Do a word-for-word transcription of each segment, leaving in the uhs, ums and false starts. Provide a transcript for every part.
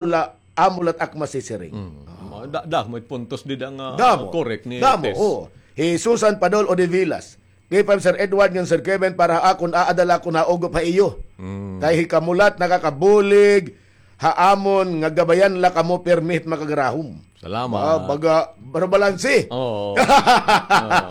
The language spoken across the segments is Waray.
la, amo la it ak masisiring. Mm. Da, da, may puntos dida nga Damo. correct ni Damo, Tess. oo. Hi Susan Padol Odivilas. K five Sir Edward ngan Sir Kevin, para ha akon, aada la ako naugop ha iyo. Mm. Kay hikamo la it nakakabulig ha amon nga gabayan la kamo pirmi hit makagarahom. Salamat. Ah, baga, pero balanse. Oo. Oo.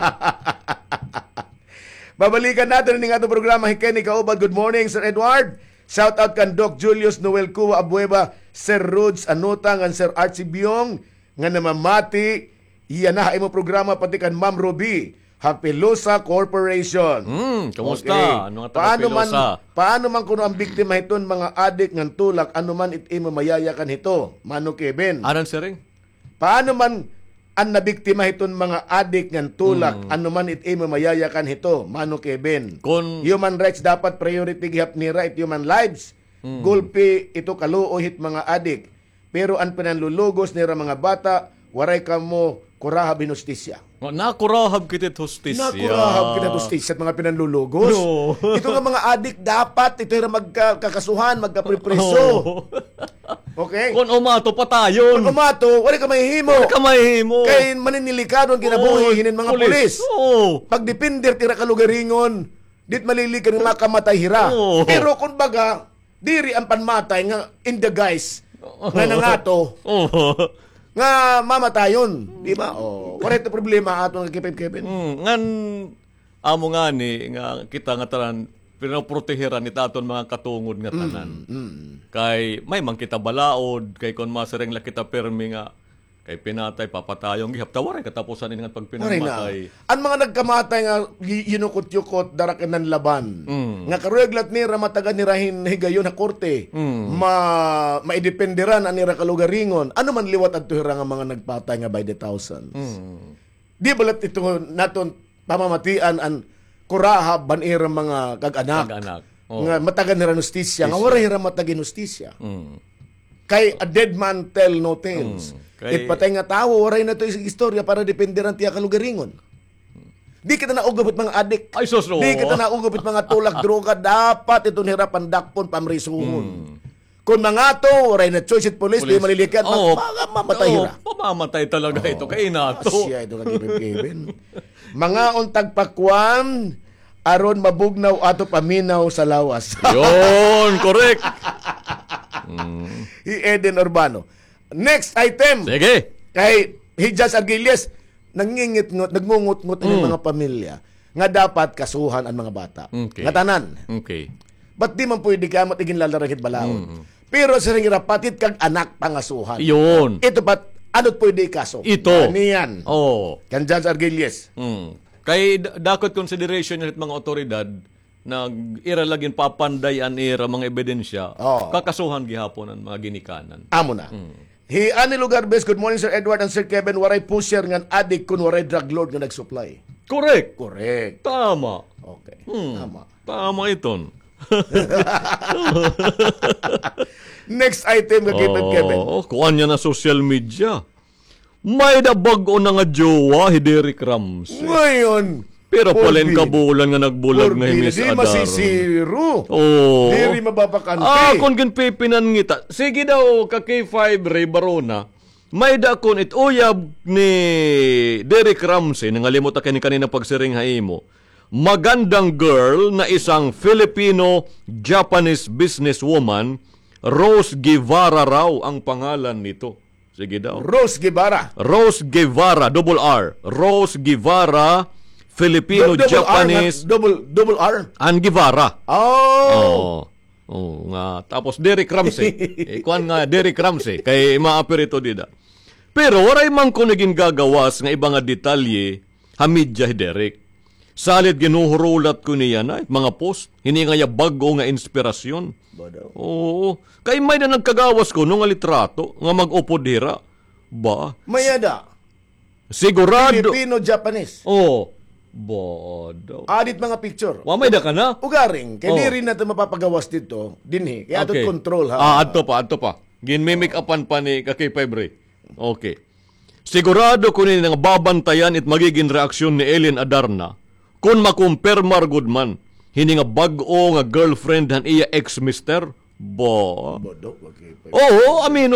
Babalikan naton ini nga aton programa, hi Kenny Kaubad. Good morning, Sir Edward. Shout out kan Doc Julius Noel Cua Abueva, Sir Rods Anota, ngan Sir Archie Biong, nga namamati yana ha imo programa, pati kan Ma'am Ruby ha Pilosa Corporation. Hmm, kumusta? Okay. Ano nga taga Paano man, Pilosa? paano man kuno an biktima hiton mga adik ngan tulak, ano man it imo mayayakan hito, Mano Kevin? Anan siring? Paano man an nabiktima hiton mga adik ngan tulak, Hmm. ano man it imo mayayakan hito, Mano Kevin? Kon Human rights dapat priority gihap nira, it human lives. Hmm. Gulpi ito kaluoy hit mga adik. Pero an pinanlulugos nira mga bata, waray kamo kurahab hin hustisya. Nga, nakurahab kita hit hustisya. Nakurahab kita hit hustisya, mga pinanlulugos. No. Ito nga mga adik, dapat ito hira magka-, kakasuhan, magkapripriso. Oo. Okay? Kon umato, patayon. Kon umato, wala ka mahihimo. Wala ka mahihimo. Kay maninilikado an kinabuhi Oo, hinin mga pulis. pulis. Oo. Pagdepender tira kalugaringon, dit malilikad nga makamatay hira. Oo. Pero kun baga, diri an panmatay nga in the guise Oo. nga nangato Oo. nga mamatayon, di ba? Oh, correct na problema ato nga Kevin, Kevin. Mm, ngan amo ngani nga kita nga tanan pinoprotehiran it aton mga katungod nga tanan. Mm, mm. Kay may man kita balaod, kay kon masiring la kita pirmi nga kay pinatay, papatayon gihap ta, waray katapusan ini nga Waray na. pagpinamatay. An mga nagkamatay nga gi-, yinukot-yukot, dara kay nanlaban. Mm. Nga karuyag la nira matagan nira hin higayon ha korte. Mm. Ma-, maidependeran an ira kalugaringon. Ano man liwat adto hira nga mga nagpatay nga by the thousands. Mm. Di ba la ito naton pamamatian an kurahab han ira mga kag-anak? Kag-anak. Oo. Nga matagan hira hin hustisya, nga Hustisya. waray hira matag hin hustisya. Mm. Kay a dead man tell no tales. Mm. Kay It patay nga tawo, waray na to is-, istorya para dependeran tiya kalugaringon. Di kita naugop it mga adik. Ay, sus, oo. Di kita naugop it mga tulak, droga. Dapat ito nira pandakpon, pamrisuhon. Mm. Kon mangato, waray na choice it police, di Police. malilikad, Oo. mag-, mga mamatay Oo, hira. pamamatay talaga ito, Oo. kay inato. Asya ito nga given-given. Mga untag pakwan, aron mabugnaw ato paminaw sa lawas. Yun, correct. Mm. Hi Eden Urbano. Next item. Sige. Kay hi Judge Argilies, nangingitngot, nagngungot-ngot an Mm. mga pamilya nga dapat kasuhan an mga bata. Okay. Nga tanan. Okay. Ba't di man pwede kay amo it iginlalarang hit balaod? Mm. Pero siring ira, pati it kag-anak pangasuhan. Yun. Ito pa, ano it pwede ikaso? Ito. Ano yan? Oo. Kan Judge Argilies. Mm. Kay da-, dako it consideration hit mga otoridad, nag-, ira la ginpapanday an ira mga ebidensya, Oo. kakasuhan gihapon an mga ginikanan. Amo na. Mm. Hi Annie Lugarbes, good morning, Sir Edward and Sir Kevin. Waray pusher ngan adik kun waray drug lord nga nag-supply. Correct. Correct. Tama. Okay. Hmm. Tama. Tama iton. Next item nga Kevin, Kevin. Oh, kuan niya na social media. May da bag-o na nga jowa hi Derek Ramsey. Ngayon, Pero Paul palin Bill. kabulan nga nagbulag Paul nga hi Bill, Miss di Adar. masisiro. Oo. Diri mababakante. Ah, kon ginpipinan ngita. Sige daw, ka K five Ray Barona. May da kon it uyab ni Derek Ramsey, nangalimot ako ni kanina pagsiring ha imo. Magandang girl na isang Filipino-Japanese businesswoman, Rose Guevara raw ang pangalan nito. Sige daw. Rose Guevara. Rose Guevara, double R. Rose Guevara, Filipino, Do-, double R, Japanese, nga-, double, double R? and Guevara. Oh. Oo. Oo, nga. Tapos Derek Ramsey. Eh, kuan nga Derek Ramsey. Kay maapir ito dida. Pero waray man kuno gingagawas nga iba nga detalye ha media hi Derek. Salit ginhuhurulat ko niya na, mga post, hini nga iya bag-o nga inspirasyon. Ba daw? Oo. Kay may da nagkagawas kuno nga litrato nga mag-upod hira. Ba? May ada. Sigurado. Filipino-Japanese. Oo. Ba daw? Adit mga picture. Wa may da ka na? Ugaring, kay Oo. diri na ito mapapagawas dito, dinhi. Kaya ato Okay. control, ha? Ah, adto pa, adto pa. Ginmimik-upan pa ni ka K five Ray. Okay. Sigurado ko ni nga babantayan it magigin reaksyon ni Ellen Adarna kon makumpirmar gud man hini nga bag-o nga girlfriend han iya ex-mister. Bo. Bo, Dok, okay. Oo, aminon